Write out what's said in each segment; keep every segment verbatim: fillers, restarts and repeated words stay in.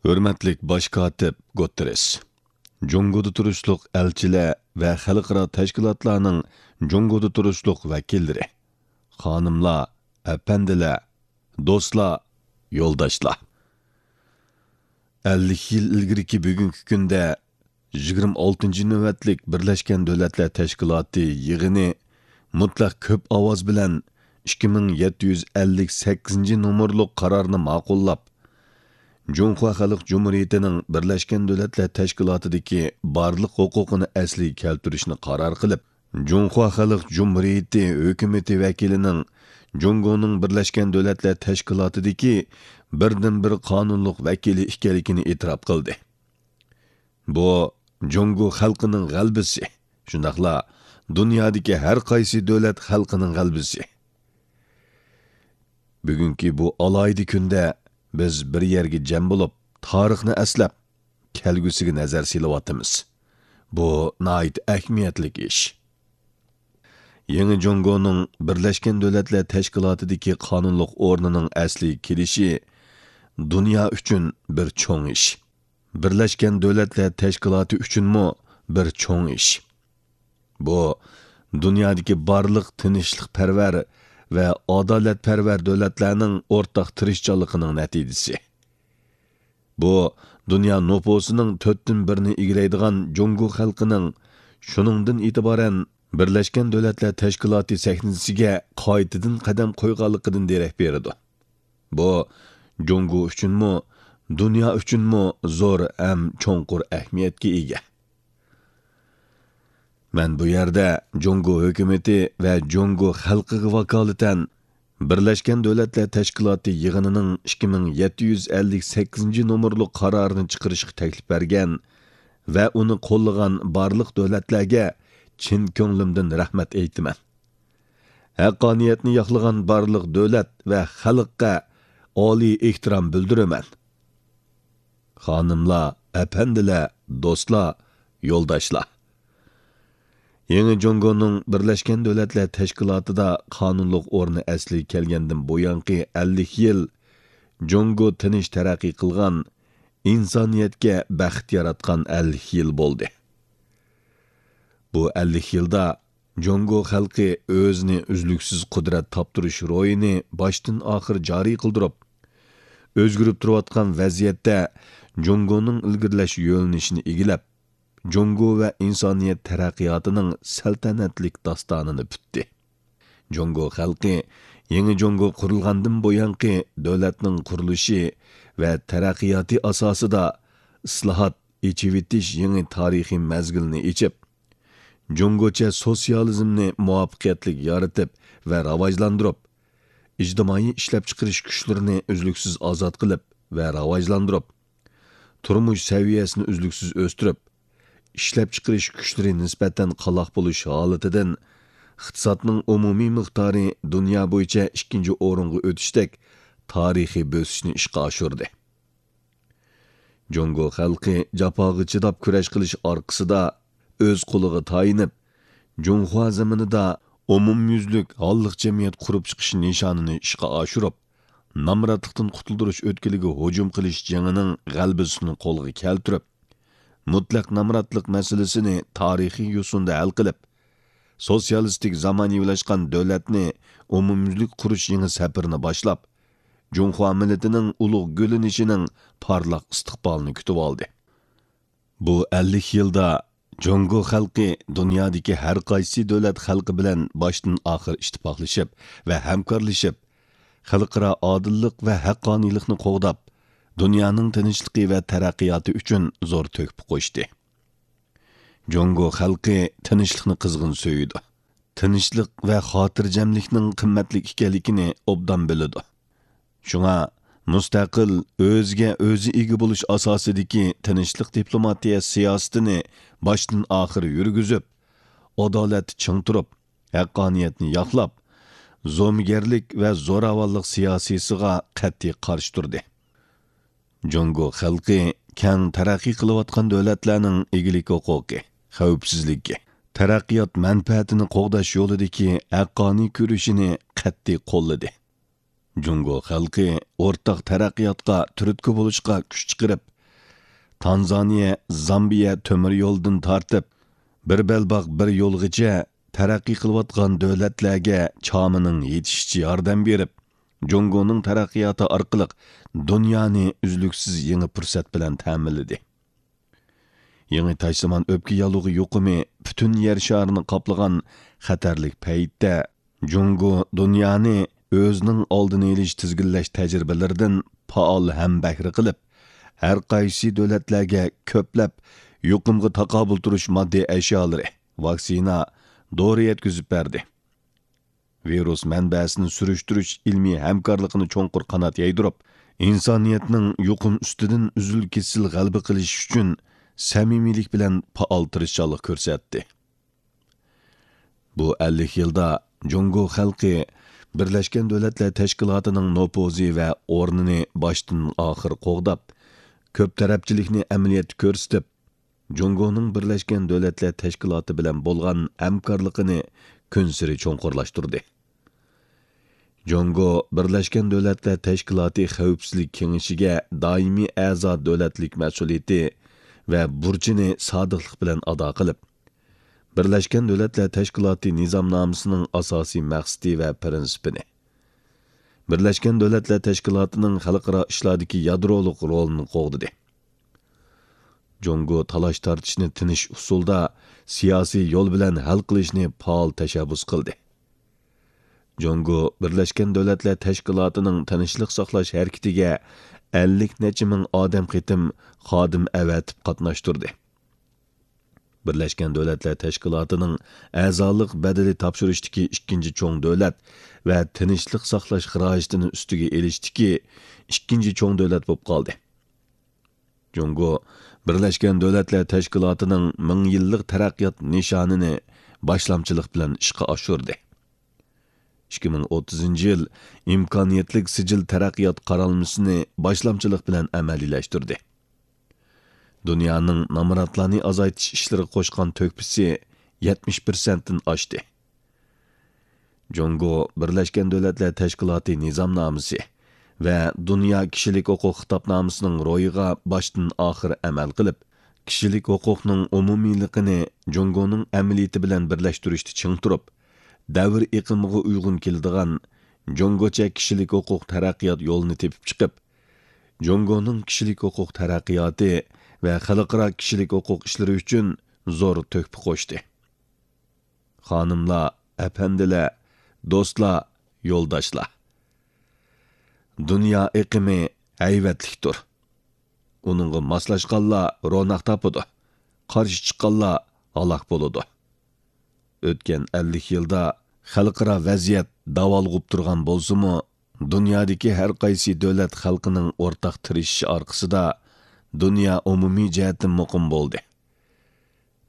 ھۆرمەتلىك باش كاتىپ گۇتېررېس، جۇڭگودا تۇرۇشلۇق ئەلچىلەر ۋە خەلقئارا تەشكىلاتلارنىڭ جۇڭگودا تۇرۇشلۇق ۋەكىللىرى، خانىملار، ئەپەندىلەر، دوستلار، يولداشلار. ئەللىك يىل ئىلگىرىكى بۈگۈنكى كۈندە يىگىرمە ئالتىنچى نۆۋەتلىك بىرلەشكەن دۆلەتلەر تەشكىلاتى يىغىنى مۇتلەق كۆپ ئاۋاز بىلەن ئىككى مىڭ يەتتە يۈز ئەللىك سەككىزىنچى نومۇرلۇق قارارنى ماقۇللاپ، جۇڭخۇا خەلق جۇمھۇرىيىتىنىڭ بىرلەشكەن دۆلەتلەر تەشكىلاتىدىكى بارلىق ھوقۇقىنى ئەسلىگە كەلتۈرۈشنى قارار قىلىپ، جۇڭخۇا خەلق جۇمھۇرىيىتى ھۆكۈمىتى ۋەكىلىنىڭ جۇڭگونىڭ بىرلەشكەن دۆلەتلەر تەشكىلاتىدىكى بىردىنبىر قانۇنلۇق ۋەكىلى ئىكەنلىكىنى ئېتىراپ قىلدى. بۇ جۇڭگو خەلقىنىڭ غەلىبىسى، شۇنداقلا دۇنيادىكى ھەر قايسى دۆلەت خەلقىنىڭ غەلىبىسى. بۈگۈنكى بۇ ئالاھىدە كۈندە بىز بىر يەرگە جەم بولۇپ، تارىخنى ئەسلەپ، كەلگۈسىگە نەزەر سېلىۋاتىمىز. بۇ ناھايىتى ئەھمىيەتلىك ئىش. يېڭى جۇڭگونىڭ بىرلەشكەن دۆلەتلەر تەشكىلاتىدىكى قانۇنلۇق ئورنىنىڭ ئەسلىگە كېلىشى دۇنيا ئۈچۈن بىر چوڭ ئىش. بىرلەشكەن دۆلەتلەر تەشكىلاتى ئۈچۈنمۇ بىر چوڭ ئىش. بۇ دۇنيادىكى بارلىق تىنچلىقپەرۋەر ۋە ئادالەتپەرۋەر دۆلەتلەرنىڭ ئورتاق تىرىشچانلىقىنىڭ نەتىجىسى. بۇ دۇنيا نوپۇسىنىڭ تۆتتىن بىرىنى ئىگىلەيدىغان جۇڭگو خەلقىنىڭ شۇنىڭدىن ئېتىبارەن بىرلەشكەن دۆلەتلەر تەشكىلاتى سەھنىسىگە قايتىدىن قەدەم قويغانلىقىدىن دېرەك بېرىدۇ. بۇ جۇڭگو ئۈچۈنمۇ، دۇنيا ئۈچۈنمۇ زور ھەم چوڭقۇر ئەھمىيەتكە ئىگە. مەن بۇ يەردە جۇڭگو ھۆكۈمىتى ۋە جۇڭگو خەلقىگە ۋاكالىتەن بىرلەشكەن دۆلەتلەر تەشكىلاتى يىغىنىنىڭ ئىككى مىڭ يەتتە يۈز ئەللىك سەككىزىنچى نومۇرلۇق قارارىنى چىقىرىشقا تەكلىپ بەرگەن ۋە ئۇنى قوللىغان بارلىق دۆلەتلەرگە چىن كۆڭلۈمدىن رەھمەت ئېيتىمەن. ھەققانىيەتنى ياقلىغان بارلىق دۆلەت ۋە خەلققە ئالىي ئېھتىرام بىلدۈرىمەن. خانىملار، ئەپەندىلەر، دوستلار، يولداشلار. يېڭى جۇڭگونىڭ بىرلەشكەن دۆلەتلەر تەشكىلاتىدا قانۇنلۇق ئورنى ئەسلىگە كەلگەندىن بۇيانقى ئەللىك يىل جۇڭگو تىنچ تەرەققىي قىلغان، ئىنسانىيەتكە بەخت ياراتقان ئەللىك يىل بولدى. بۇ ئەللىك يىلدا جۇڭگو خەلقى ئۆزىنى ئۈزلۈكسىز قۇدرەت تاپتۇرۇش روھىنى باشتىن ئاخىر جارى قىلدۇرۇپ، ئۆزگىرىپ تۇرۇۋاتقان ۋەزىيەتتە جۇڭگونىڭ ئىلگىرىلەش يۆنىلىشىنى ئىگىلەپ، جۇڭگو ۋە ئىنسانىيەت تەرەققىياتىنىڭ سەلتەنەتلىك داستانىنى پۈتتى. جۇڭگو خەلقى يېڭى جۇڭگو قۇرۇلغاندىن بۇيانقى دۆلەتنىڭ قۇرۇلۇشى ۋە تەرەققىياتى ئاساسىدا ئىسلاھات، ئېچىۋېتىش يېڭى تارىخىي مەزگىلىنى ئېچىپ، جۇڭگوچە سوتسىيالىزمنى مۇۋەپپەقىيەتلىك يارىتىپ ۋە راۋاجلاندۇرۇپ، ئىجتىمائىي ئىشلەپچىقىرىش كۈچلىرىنى ئۈزلۈكسىز ئازاد قىلىپ ۋە راۋاجلاندۇرۇپ، تۇرمۇش سەۋىيەسىنى ئۈزلۈكسىز ئۆستۈرۈپ، ئىشلەپچىقىرىش كۈچلىرى نىسبەتەن قالاق بولۇش ھالىتىدىن ئىقتىسادنىڭ ئومۇمىي مىقدارى دۇنيا بويىچە ئىككىنچى ئورۇنغا ئۆتۈشتەك تارىخىي بۆسۈشنى ئىشقا ئاشۇردى. جۇڭگو خەلقى جاپاغا چىداپ كۈرەش قىلىش ئارقىسىدا ئۆز قولىغا تايىنىپ، جۇڭخۇا زېمىنىدا ئومۇميۈزلۈك ھاللىق جەمئىيەت قۇرۇپ چىقىش نىشانىنى ئىشقا ئاشۇرۇپ، نامراتلىقتىن قۇتۇلدۇرۇش ئۆتكىلىگە ھۇجۇم قىلىش جېڭىنىڭ غەلىبىسىنى قولغا كەلتۈرۈپ، مۇتلەق نامراتلىق مەسىلىسىنى تارىخىي يوسۇندا ھەل قىلىپ، سوتسىيالىستىك زامانىۋىلاشقان دۆلەتنى ئومۇميۈزلۈك قۇرۇش يېڭى سەپىرىنى باشلاپ، جۇڭخۇا مىللىتىنىڭ ئۇلۇغ گۈللىنىشىنىڭ پارلاق ئىستىقبالىنى كۈتۈۋالدى. بۇ ئەللىك يىلدا جۇڭگو خەلقى دۇنيادىكى ھەر قايسى دۆلەت خەلقى بىلەن باشتىن ئاخىر ئىتتىپاقلىشىپ ۋە ھەمكارلىشىپ، خەلقئارا ئادىللىق ۋە ھەققانىيلىقنى قوغداپ، دۇنيانىڭ تىنچلىقى ۋە تەرەققىياتى ئۈچۈن زور تۆھپە قوشتى. جۇڭگو خەلقى تىنچلىقنى قىزغىن سۆيىدۇ. تىنچلىق ۋە خاتىرجەملىكنىڭ قىممەتلىك ئىكەنلىكىنى ئوبدان بىلىدۇ. شۇڭا مۇستەقىل، ئۆزىگە ئۆزى ئىگە بولۇش ئاساسىدىكى تىنچلىق دىپلوماتىيە سىياسىتىنى باشتىن ئاخىر يۈرگۈزۈپ، ئادالەتتە چىڭ تۇرۇپ، ھەققانىيەتنى ياقلاپ، زومىگەرلىك ۋە زوراۋانلىق سىياسىيسىغا قەتئىي قارشى تۇردى. جۇڭگو خەلقى كەڭ تەرەققىي قىلىۋاتقان دۆلەتلەرنىڭ ئىگىلىك ھوقۇقى، خەۋپسىزلىكى، تەرەققىيات مەنپەئەتىنى قوغداش يولىدىكى ھەققانىي كۈرىشىنى قەتئىي قوللىدى. جۇڭگو خەلقى ئورتاق تەرەققىياتقا تۈرتكە بولۇشقا كۈچ چىقىرىپ، تانزانىيە، زامبىيە تۆمۈر يولىدىن تارتىپ، بىر بەلباغ بىر يولغىچە تەرەققىي قىلىۋاتقان دۆلەتلەرگە چامىنىڭ يېتىشىچە ياردەم بېرىپ، جۇڭگونىڭ تەرەققىياتى ئارقىلىق دۇنيانى ئۈزلۈكسىز يېڭى پۇرسەت بىلەن تەمىنلىدى. يېڭى تاجسىمان ئۆپكە ياللۇغى يۇقۇمى پۈتۈن يەر شارىنى قاپلىغان خەتەرلىك پەيتتە، جۇڭگو دۇنيانى ئۆزىنىڭ ئالدىنى ئېلىش، تىزگىنلەش تەجرىبىلىرىدىن پائال ھەمبەھرە قىلىپ، ھەر قايسى دۆلەتلەرگە كۆپلەپ يۇقۇمغا تاقابىل تۇرۇش ماددىي ئەشيالىرى، ۋاكسىنا، دورا يەتكۈزۈپ بەردى. ۋىرۇس مەنبەسىنى سۈرۈشتۈرۈش ئىلمىي ھەمكارلىقىنى چوڭقۇر قانات يايدۇرۇپ، ئىنسانىيەتنىڭ يۇقۇم ئۈستىدىن ئۈزۈل-كېسىل غەلىبە قىلىشى ئۈچۈن سەمىمىيلىك بىلەن پائال تىرىشچانلىق كۆرسەتتى. بۇ ئەللىك يىلدا جۇڭگو خەلقى بىرلەشكەن دۆلەتلەر تەشكىلاتىنىڭ نوپۇزى ۋە ئورنىنى باشتىن ئاخىر قوغداپ، كۆپ تەرەپچىلىكنى ئەمەلىيەتتە كۆرسىتىپ، جۇڭگونىڭ بىرلەشكەن دۆلەتلەر تەشكىلاتى بىلەن بولغان ھەمكارلىقىنى كۈنسېرى چوڭقۇرلاشتۇردى. جۇڭگو بىرلەشكەن دۆلەتلەر تەشكىلاتى خەۋپسىزلىك كېڭىشىگە دائىمىي ئەزا دۆلەتلىك مەسئۇلىيىتى ۋە بۇرچىنى سادىقلىق بىلەن ئادا قىلىپ، بىرلەشكەن دۆلەتلەر تەشكىلاتى نىزامنامىسىنىڭ ئاساسىي مەقسىتى ۋە پىرىنسىپىنى، بىرلەشكەن دۆلەتلەر تەشكىلاتىنىڭ خەلقئارا ئىشلاردىكى يادرولۇق رولىنى قوغدىدى. جۇڭگو تالاش-تارتىشنى تىنچ ئۇسۇلدا، سىياسىي يول بىلەن ھەل قىلىشنى پائال تەشەببۇس قىلدى. جۇڭگو بىرلەشكەن دۆلەتلەر تەشكىلاتىنىڭ تىنچلىق ساقلاش ھەرىكىتىگە ئەللىك نەچچە مىڭ ئادەم قېتىم خادىم ئەۋەتىپ قاتناشتۇردى. بىرلەشكەن دۆلەتلەر تەشكىلاتىنىڭ ئەزالىق بەدىلى تاپشۇرۇشتىكى ئىككىنچى چوڭ دۆلەت ۋە تىنچلىق ساقلاش خىراجىتىنى ئۈستىگە ئېلىشتىكى ئىككىنچى چوڭ دۆلەت بولۇپ قالدى. جۇڭگو بىرلەشكەن دۆلەتلەر تەشكىلاتىنىڭ مىڭ يىللىق تەرەققىيات نىشانىنى باشلامچىلىق بىلەن ئىشقا ئاشۇردى. ئىككى مىڭ ئوتتۇزىنچى يىل ئىمكانىيەتلىك سىجىل تەرەققىيات قارالمىسىنى باشلامچىلىق بىلەن ئەمەلىيلەشتۈردى. دۇنيانىڭ نامراتلارنى ئازايتىش ئىشلىرىغا قوشقان تۆھپىسى يەتمىش پىرسەنتتىن ئاشتى. جۇڭگو بىرلەشكەن دۆلەتلەر تەشكىلاتى نىزامنامىسى ۋە دۇنيا كىشىلىك ھوقۇق خىتابنامىسىنىڭ روھىغا باشتىن ئاخىر ئەمەل قىلىپ، كىشىلىك ھوقۇقنىڭ ئومۇمىيلىقىنى جۇڭگونىڭ ئەمەلىيىتى بىلەن بىرلەشتۈرۈشتە چىڭ تۇرۇپ، دەۋر ئېقىمىغا ئۇيغۇن كېلىدىغان جۇڭگوچە كىشىلىك ھوقۇق تەرەققىيات يولىنى تېپىپ چىقىپ، جۇڭگونىڭ كىشىلىك ھوقۇق تەرەققىياتى ۋە خەلقئارا كىشىلىك ھوقۇق ئىشلىرى ئۈچۈن زور تۆھپە قوشتى. خانىملار، ئەپەندىلەر، دوستلار، يولداشلار! دۇنيا ئېقىمى ھەيۋەتلىكتۇر. ئۇنىڭغا ماسلاشقانلار روناق تاپىدۇ، قارشى چىققانلار ھالاك بولىدۇ. ئۆتكەن ئەللىك يىلدا خەلقئارا ۋەزىيەت داۋالغۇپ تۇرغان بولسىمۇ، دۇنيادىكى ھەر قايسى دۆلەت خەلقىنىڭ ئورتاق تىرىشىشى ئارقىسىدا دۇنيا ئومۇمىي جەھەتتىن مۇقىم بولدى.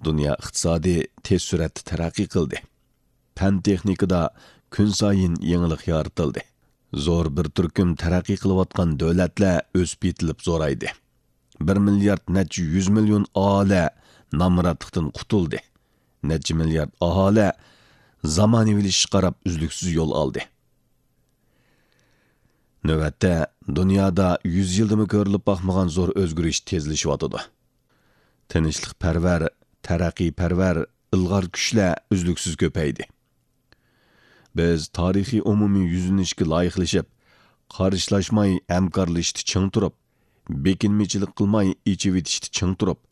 دۇنيا ئىقتىسادى تېز سۈرئەتتە تەرەققىي قىلدى. پەن-تېخنىكىدا كۈنسايىن يېڭىلىق يارىتىلدى. زور بىر تۈركۈم تەرەققىي قىلىۋاتقان دۆلەتلەر ئۆسۈپ يېتىلىپ زورايدى. بىر مىليارد نەچچە يۈز مىليون ئاھالە نامراتلىقتىن قۇتۇلدى. نەچچە مىليارد ئاھالە زامانىۋىلىشىشقا قاراپ ئۈزلۈكسىز يول ئالدى. نۆۋەتتە، دۇنيادا يۈز يىلدىمۇ كۆرۈلۈپ باقمىغان زور ئۆزگىرىش تېزلىشىۋاتىدۇ. تىنچلىقپەرۋەر، تەرەققىيپەرۋەر، ئىلغار كۈچلەر ئۈزلۈكسىز كۆپەيدى. بىز تارىخىي ئومۇمىي يۈزلىنىشكە لايىقلىشىپ، قارشىلاشماي ھەمكارلىشىشتا چىڭ تۇرۇپ، بېكىنمىچىلىك قىلماي ئېچىۋېتىشتە چىڭ تۇرۇپ،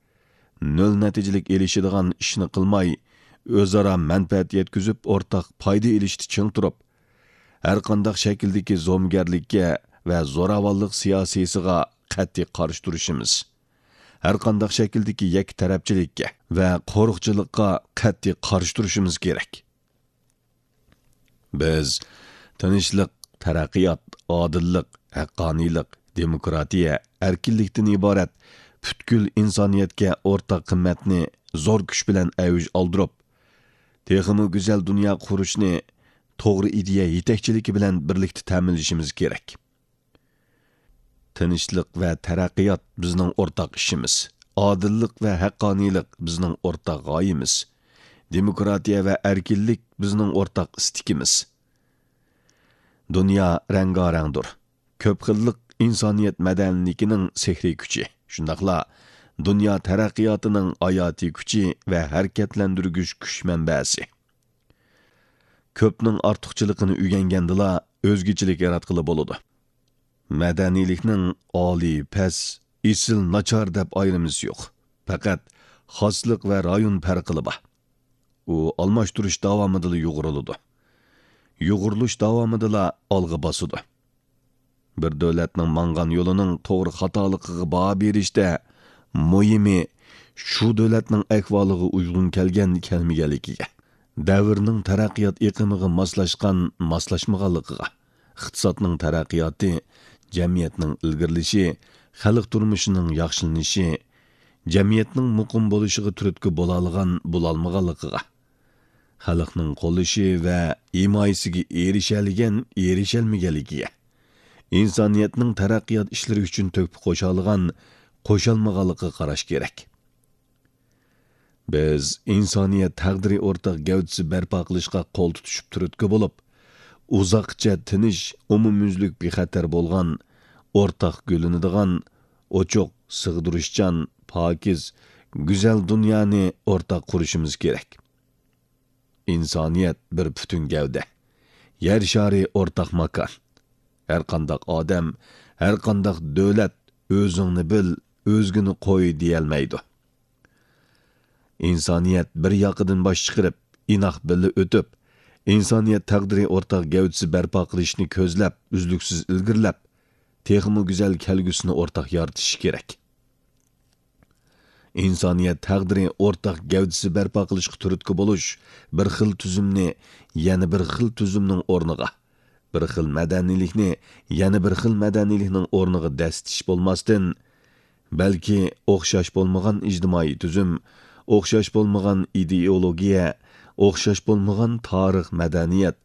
نۆل نەتىجىلىك ئېلىشىدىغان ئىشنى قىلماي، ئۆزئارا مەنپەئەت يەتكۈزۈپ ئورتاق پايدا ئېلىشتا چىڭ تۇرۇپ، ھەرقانداق شەكىلدىكى زومىگەرلىككە ۋە زوراۋانلىق سىياسىيسىغا قەتئىي قارشى تۇرۇشىمىز، ھەرقانداق شەكىلدىكى يەككە تەرەپچىلىككە ۋە قورۇقچىلىققا قەتئىي قارشى تۇرۇشىمىز كېرەك. بىز تىنچلىق، تەرەققىيات، ئادىللىق، ھەققانىيلىق، دېموكراتىيە، ئەركىنلىكتىن ئىبارەت پۈتكۈل ئىنسانىيەتكە ئورتاق قىممەتنى زور كۈچ بىلەن ئەۋج ئالدۇرۇپ، تېخىمۇ گۈزەل دۇنيا قۇرۇشنى توغرا ئىدىيە يېتەكچىلىكى بىلەن بىرلىكتە تەمىنلىشىمىز كېرەك. تىنچلىق ۋە تەرەققىيات بىزنىڭ ئورتاق ئىشىمىز. ئادىللىق ۋە ھەققانىيلىق بىزنىڭ ئورتاق غايىمىز. دېموكراتىيە ۋە ئەركىنلىك بىزنىڭ ئورتاق ئىستىكىمىز. دۇنيا رەڭگارەڭدۇر. كۆپ خىللىق ئىنسانىيەت مەدەنىيلىكىنىڭ سېھرىي كۈچى. شۇنداقلا دۇنيا تەرەققىياتىنىڭ ھاياتىي كۈچى ۋە ھەرىكەتلەندۈرگۈچ كۈچ مەنبەسى. كۆپنىڭ ئارتۇقچىلىقىنى ئۆگەنگەندىلا، ئۆزگىچىلىك ياراتقىلى بولىدۇ. مەدەنىيلىكنىڭ ئالىي، پەس، ئېسىل، ناچار دەپ ئايرىمىسى يوق. پەقەت خاسلىق ۋە رايون پەرقىلا بار. ئۇ ئالماشتۇرۇش داۋامىدىلا يۇغۇرۇلىدۇ. يۇغۇرۇلۇش داۋامىدىلا ئالغا باسىدۇ. بىر دۆلەتنىڭ ماڭغان يولىنىڭ توغرا خاتالىقىغا باھا بېرىشتە مۇھىمى شۇ دۆلەتنىڭ ئەھۋالىغا ئۇيغۇن كەلگەن، كەلمىگەنلىكىگە، دەۋرنىڭ تەرەققىيات ئېقىمىغا ماسلاشقان، ماسلاشمىغانلىقىغا، ئىقتىسادنىڭ تەرەققىياتى، جەمئىيەتنىڭ ئىلگىرىلىشى، خەلق تۇرمۇشىنىڭ ياخشىلىنىشى، جەمئىيەتنىڭ مۇقىم بولۇشىغا تۈرتكە بولالىغان، بولالمىغانلىقىغا، خەلقنىڭ قوللىشى ۋە ھىمايىسىگە ئېرىشەلىگەن، ئېرىشەلمىگەنلىكىگە، ئىنسانىيەتنىڭ تەرەققىيات ئىشلىرى ئۈچۈن تۆھپە قوشالىغان، قوشالمىغانلىقىغا قاراش كېرەك. بىز ئىنسانىيەت تەقدىرى ئورتاق گەۋدىسى بەرپا قىلىشقا قول تۇتۇشۇپ تۈرتكە بولۇپ، ئۇزاققىچە تىنچ، ئومۇميۈزلۈك بىخەتەر بولغان، ئورتاق گۈللىنىدىغان، ئوچۇق، سىغدۇرۇشچان، پاكىز، گۈزەل دۇنيانى ئورتاق قۇرۇشىمىز كېرەك. ئىنسانىيەت بىر پۈتۈن گەۋدە. يەر شارى ئورتاق ماكان. ھەرقانداق ئادەم، ھەرقانداق دۆلەت «ئۆزۈڭنى بىل، ئۆزگىنى قوي» دېيەلمەيدۇ. ئىنسانىيەت بىر ياقىدىن باش چىقىرىپ، ئىناق بىللە ئۆتۈپ، ئىنسانىيەت تەقدىرى ئورتاق گەۋدىسى بەرپا قىلىشنى كۆزلەپ، ئۈزلۈكسىز ئىلگىرىلەپ، تېخىمۇ گۈزەل كەلگۈسىنى ئورتاق يارىتىشى كېرەك. ئىنسانىيەت تەقدىرى ئورتاق گەۋدىسى بەرپا قىلىشقا تۈرتكە بولۇش بىر خىل تۈزۈمنى يەنە بىر خىل تۈزۈمنىڭ ئورنىغا، بىر خىل مەدەنىيلىكنى يەنە بىر خىل مەدەنىيلىكنىڭ ئورنىغا دەسسىتىش بولماستىن، بەلكى ئوخشاش بولمىغان ئىجتىمائىي تۈزۈم، ئوخشاش بولمىغان ئىدېئولوگىيە، ئوخشاش بولمىغان تارىخ، مەدەنىيەت،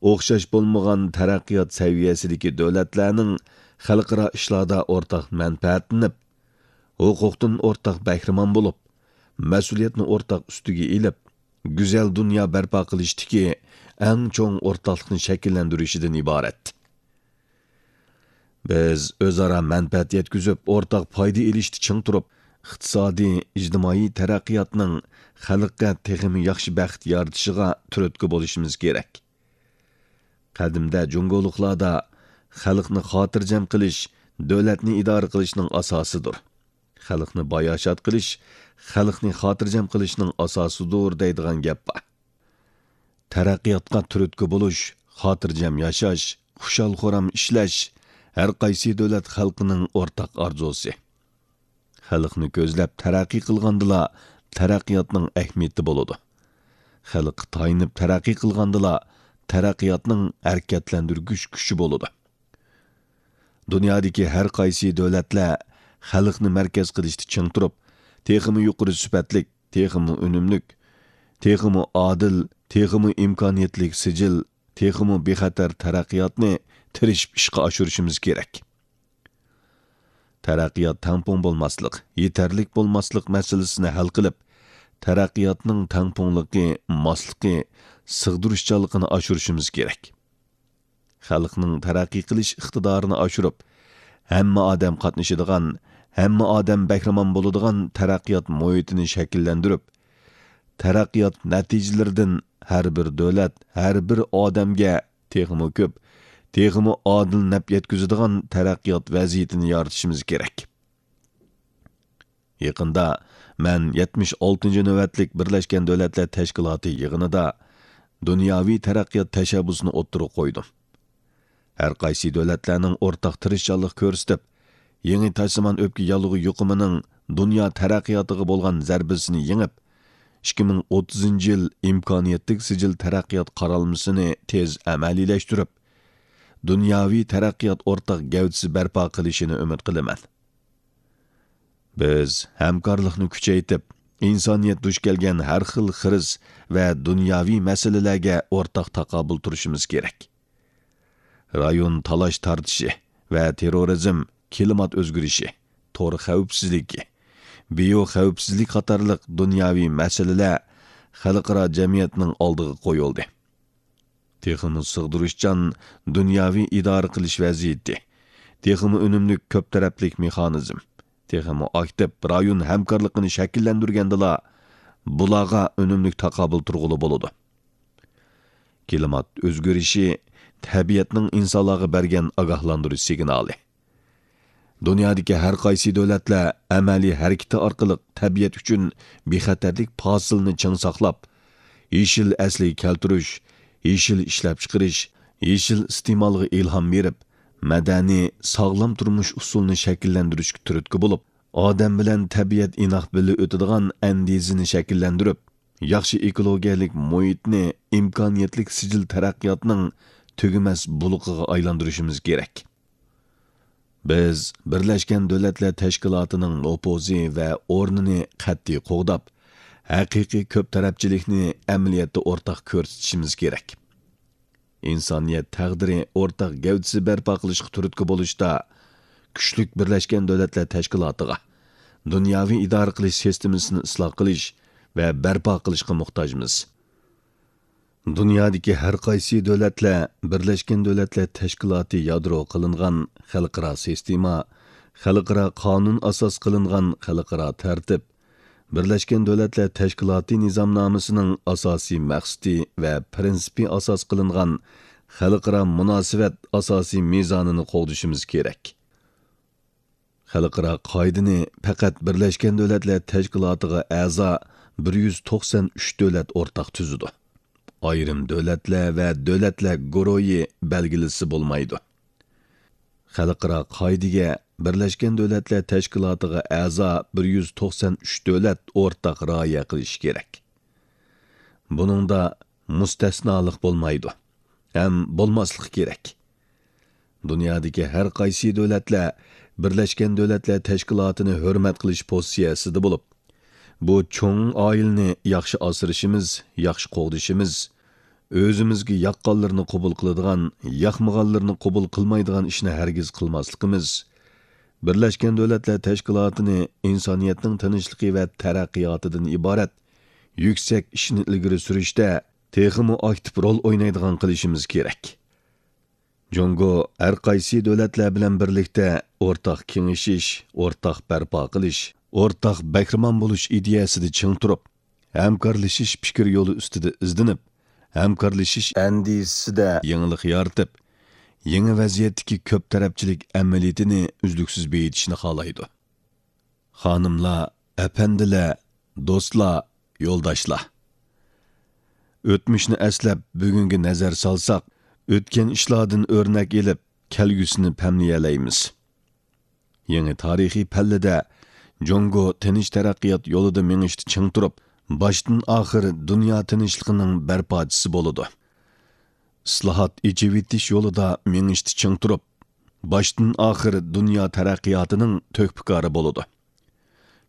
ئوخشاش بولمىغان تەرەققىيات سەۋىيەسىدىكى دۆلەتلەرنىڭ خەلقئارا ئىشلاردا ئورتاق مەنپەئەتلىنىپ، ھوقۇقتىن ئورتاق بەھرىمەن بولۇپ، مەسئۇلىيەتنى ئورتاق ئۈستىگە ئېلىپ، گۈزەل دۇنيا بەرپا قىلىشتىكى ئەڭ چوڭ ئورتاقلىقنى شەكىللەندۈرۈشىدىن ئىبارەت. بىز ئۆزئارا مەنپەئەت يەتكۈزۈپ، ئورتاق پايدا ئېلىشتا چىڭ تۇرۇپ، ئىقتىسادىي، ئىجتىمائىي تەرەققىياتنىڭ خەلققە تېخىمۇ ياخشى بەخت يارىتىشىغا تۈرتكە بولۇشىمىز كېرەك. قەدىمدە جۇڭگولۇقلاردا «خەلقنى خاتىرجەم قىلىش دۆلەتنى ئىدارە قىلىشنىڭ ئاساسىدۇر. خەلقنى باياشات قىلىش خەلقنى خاتىرجەم قىلىشنىڭ ئاساسىدۇر» دەيدىغان گەپ بار. تەرەققىياتقا تۈرتكە بولۇش، خاتىرجەم ياشاش، خۇشال-خۇرام ئىشلەش ھەر قايسى دۆلەت خەلقىنىڭ ئورتاق ئارزۇسى. خەلقنى كۆزلەپ تەرەققىي قىلغاندىلا، تەرەققىياتنىڭ ئەھمىيىتى بولىدۇ. خەلققە تايىنىپ تەرەققىي قىلغاندىلا، تەرەققىياتنىڭ ھەرىكەتلەندۈرگۈچ كۈچى بولىدۇ. دۇنيادىكى ھەر قايسى دۆلەتلەر خەلقنى مەركەز قىلىشتا چىڭ تۇرۇپ، تېخىمۇ يۇقىرى سۈپەتلىك، تېخىمۇ ئۈنۈملۈك، تېخىمۇ ئادىل، تېخىمۇ ئىمكانىيەتلىك سىجىل، تېخىمۇ بىخەتەر تەرەققىياتنى تىرىشىپ ئىشقا ئاشۇرۇشىمىز كېرەك. تەرەققىيات تەڭپۇڭ بولماسلىق، يېتەرلىك بولماسلىق مەسىلىسىنى ھەل قىلىپ، تەرەققىياتنىڭ تەڭپۇڭلۇقى، ماسلىقى، سىغدۇرۇشچانلىقىنى ئاشۇرۇشىمىز كېرەك. خەلقنىڭ تەرەققىي قىلىش ئىقتىدارىنى ئاشۇرۇپ، ھەممە ئادەم قاتنىشىدىغان، ھەممە ئادەم بەھرىمەن بولىدىغان تەرەققىيات مۇھىتىنى شەكىللەندۈرۈپ، تەرەققىيات نەتىجىلىرىدىن ھەر بىر دۆلەت، ھەر بىر ئادەمگە تېخىمۇ كۆپ، تېخىمۇ ئادىل نەپ يەتكۈزىدىغان تەرەققىيات ۋەزىيىتىنى يارىتىشىمىز كېرەك. يېقىندا مەن يەتمىش ئالتىنچى نۆۋەتلىك بىرلەشكەن دۆلەتلەر تەشكىلاتى يىغىنىدا دۇنياۋى تەرەققىيات تەشەببۇسىنى ئوتتۇرىغا قويدۇم. ھەر قايسى دۆلەتلەرنىڭ ئورتاق تىرىشچانلىق كۆرسىتىپ، يېڭى تاشسىمان ئۆپكە ياللۇغى يۇقۇمىنىڭ دۇنيا تەرەققىياتىغا بولغان زەربىسىنى يېڭىپ، ئىككى مىڭ ئوتتۇزىنچى يىل ئىمكانىيەتلىك سىجىل تەرەققىيات قارالمىسىنى تېز ئەمەلىيلەشتۈرۈپ، دۇنياۋى تەرەققىيات ئورتاق گەۋدىسى بەرپا قىلىشىنى ئۈمىد قىلىمەن. بىز ھەمكارلىقنى كۈچەيتىپ، ئىنسانىيەت دۇچ كەلگەن ھەر خىل خىرىس ۋە دۇنياۋى مەسىلىلەرگە ئورتاق تاقابىل تۇرۇشىمىز كېرەك. رايون تالاش-تارتىشى ۋە تېررورىزم، كىلىمات ئۆزگىرىشى، تور خەۋپسىزلىكى، بىيو خەۋپسىزلىك قاتارلىق دۇنياۋى مەسىلىلەر خەلقئارا جەمئىيەتنىڭ ئالدىغا قويۇلدى. تېخىمۇ سىغدۇرۇشچان دۇنياۋى ئىدارە قىلىش ۋەزىيىتى، تېخىمۇ ئۈنۈملۈك كۆپ تەرەپلىك مېخانىزم، تېخىمۇ ئاكتىپ رايون ھەمكارلىقىنى شەكىللەندۈرگەندىلا، بۇلارغا ئۈنۈملۈك تاقابىل تۇرغىلى بولىدۇ. كىلىمات ئۆزگىرىشى تەبىئەتنىڭ ئىنسانلارغا بەرگەن ئاگاھلاندۇرۇش سىگنالى. دۇنيادىكى ھەر قايسى دۆلەتلەر ئەمەلىي ھەرىكىتى ئارقىلىق تەبىئەت ئۈچۈن بىخەتەرلىك پاسىلىنى چىڭ ساقلاپ، يېشىل ئەسلىگە كەلتۈرۈش، يېشىل ئىشلەپچىقىرىش، يېشىل ئىستېمالغا ئىلھام بېرىپ، مەدەنىي، ساغلام تۇرمۇش ئۇسۇلىنى شەكىللەندۈرۈشكە تۈرتكە بولۇپ، ئادەم بىلەن تەبىئەت ئىناق بىللە ئۆتىدىغان ئەندىزىنى شەكىللەندۈرۈپ، ياخشى ئېكولوگىيەلىك مۇھىتنى ئىمكانىيەتلىك سىجىل تەرەققىياتنىڭ تۈگىمەس بۇلىقىغا ئايلاندۇرۇشىمىز كېرەك. بىز بىرلەشكەن دۆلەتلەر تەشكىلاتىنىڭ نوپۇزى ۋە ئورنىنى قەتئىي قوغداپ، ھەقىقىي كۆپ تەرەپچىلىكنى ئەمەلىيەتتە ئورتاق كۆرسىتىشىمىز كېرەك. ئىنسانىيەت تەقدىرى ئورتاق گەۋدىسى بەرپا قىلىشقا تۈرتكە بولۇشتا، كۈچلۈك بىرلەشكەن دۆلەتلەر تەشكىلاتىغا، دۇنياۋى ئىدارە قىلىش سىستېمىسىنى ئىسلاھ قىلىش ۋە بەرپا قىلىشقا موھتاجمىز. دۇنيادىكى ھەر قايسى دۆلەتلەر بىرلەشكەن دۆلەتلەر تەشكىلاتى يادرو قىلىنغان خەلقئارا سىستېما، خەلقئارا قانۇن ئاساس قىلىنغان خەلقئارا تەرتىپ، بىرلەشكەن دۆلەتلەر تەشكىلاتى نىزامنامىسىنىڭ ئاساسىي مەقسىتى ۋە پىرىنسىپى ئاساس قىلىنغان خەلقئارا مۇناسىۋەت ئاساسىي مىزانىنى قوغدىشىمىز كېرەك. خەلقئارا قائىدىنى پەقەت بىرلەشكەن دۆلەتلەر تەشكىلاتىغا ئەزا بىر يۈز توقسان ئۈچ دۆلەت ئورتاق تۈزىدۇ. ئايرىم دۆلەتلەر ۋە دۆلەتلەر گۇرۇھى بەلگىلىسە بولمايدۇ. خەلقئارا قائىدىگە بىرلەشكەن دۆلەتلەر تەشكىلاتىغا ئەزا بىر يۈز توقسان ئۈچ دۆلەت ئورتاق رىئايە قىلىشى كېرەك. بۇنىڭدا مۇستەسنالىق بولمايدۇ ھەم بولماسلىقى كېرەك. دۇنيادىكى ھەر قايسى دۆلەتلەر بىرلەشكەن دۆلەتلەر تەشكىلاتىنى ھۆرمەت قىلىش پوزىتسىيەسىدە بولۇپ، بۇ چوڭ ئائىلىنى ياخشى ئاسرىشىمىز، ياخشى قوغدىشىمىز، ئۆزىمىزگە ياققانلىرىنى قوبۇل قىلىدىغان، ياقمىغانلىرىنى قوبۇل قىلمايدىغان ئىشنى ھەرگىز قىلماسلىقىمىز، بىرلەشكەن دۆلەتلەر تەشكىلاتىنى ئىنسانىيەتنىڭ تىنچلىقى ۋە تەرەققىياتىدىن ئىبارەت يۈكسەك ئىشنى ئىلگىرى سۈرۈشتە تېخىمۇ ئاكتىپ رول ئوينايدىغان قىلىشىمىز كېرەك. جۇڭگو ھەر قايسى دۆلەتلەر بىلەن بىرلىكتە ئورتاق كېڭىشىش، ئورتاق بەرپا قىلىش، ئورتاق بەھرىمەن بولۇش ئىدىيەسىدە چىڭ تۇرۇپ، ھەمكارلىشىش پىكىر يولى ئۈستىدە ئىزدىنىپ، ھەمكارلىشىش ئەندىزىسىدە يېڭىلىق يارىتىپ، يېڭى ۋەزىيەتتىكى كۆپ تەرەپچىلىك ئەمەلىيىتىنى ئۈزلۈكسىز بېيىتىشنى خالايدۇ. خانىملار، ئەپەندىلەر، دوستلار، يولداشلار! ئۆتمۈشنى ئەسلەپ، بۈگۈنگە نەزەر سالساق، ئۆتكەن ئىشلاردىن ئۆرنەك ئېلىپ، كەلگۈسىنى پەملىيەلەيمىز. يېڭى تارىخىي پەللىدە جۇڭگو تىنچ تەرەققىيات يولىدا مېڭىشتا چىڭ تۇرۇپ، باشتىن ئاخىر دۇنيا تىنچلىقىنىڭ بەرپاچىسى بولىدۇ. ئىسلاھات، ئېچىۋېتىش يولىدا مېڭىشتا چىڭ تۇرۇپ، باشتىن ئاخىر دۇنيا تەرەققىياتىنىڭ تۆھپىكارى بولىدۇ.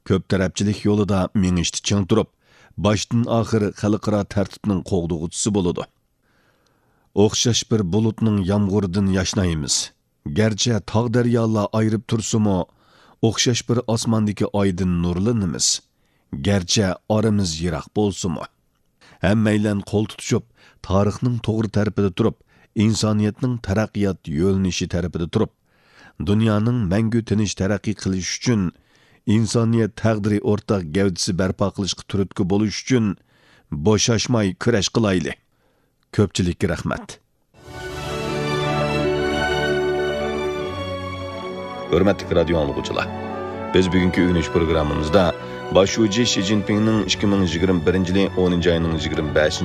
كۆپ تەرەپچىلىك يولىدا مېڭىشتا چىڭ تۇرۇپ، باشتىن ئاخىر خەلقئارا تەرتىپنىڭ قوغدىغۇچىسى بولىدۇ. ئوخشاش بىر بۇلۇتنىڭ يامغۇرىدىن ياشنايمىز. گەرچە تاغ-دەريالار ئايرىپ تۇرسىمۇ، ئوخشاش بىر ئاسماندىكى ئايدىن نۇرلىنىمىز. گەرچە ئارىمىز يىراق بولسىمۇ. ھەممەيلەن قول تۇتۇشۇپ، تارىخنىڭ توغرا تەرىپىدە تۇرۇپ، ئىنسانىيەتنىڭ تەرەققىيات يۆنىلىشى تەرىپىدە تۇرۇپ، دۇنيانىڭ مەڭگۈ تىنچ تەرەققىي قىلىشى ئۈچۈن، ئىنسانىيەت تەقدىرى ئورتاق گەۋدىسى بەرپا قىلىشقا تۈرتكە بولۇش ئۈچۈن بوشاشماي كۈرەش قىلايلى. كۆپچىلىككە رەھمەت. ھۆرمەتلىك رادىيو ئاڭلىغۇچىلار، بىز بۈگۈنكى ئۆگىنىش پروگراممىمىزدا باش شۇجى شى جىنپىڭنىڭ ئىككى مىڭ يىگىرمە بىرىنچى يىلى ئونىنچى ئاينىڭ يىگىرمە بەشىنچى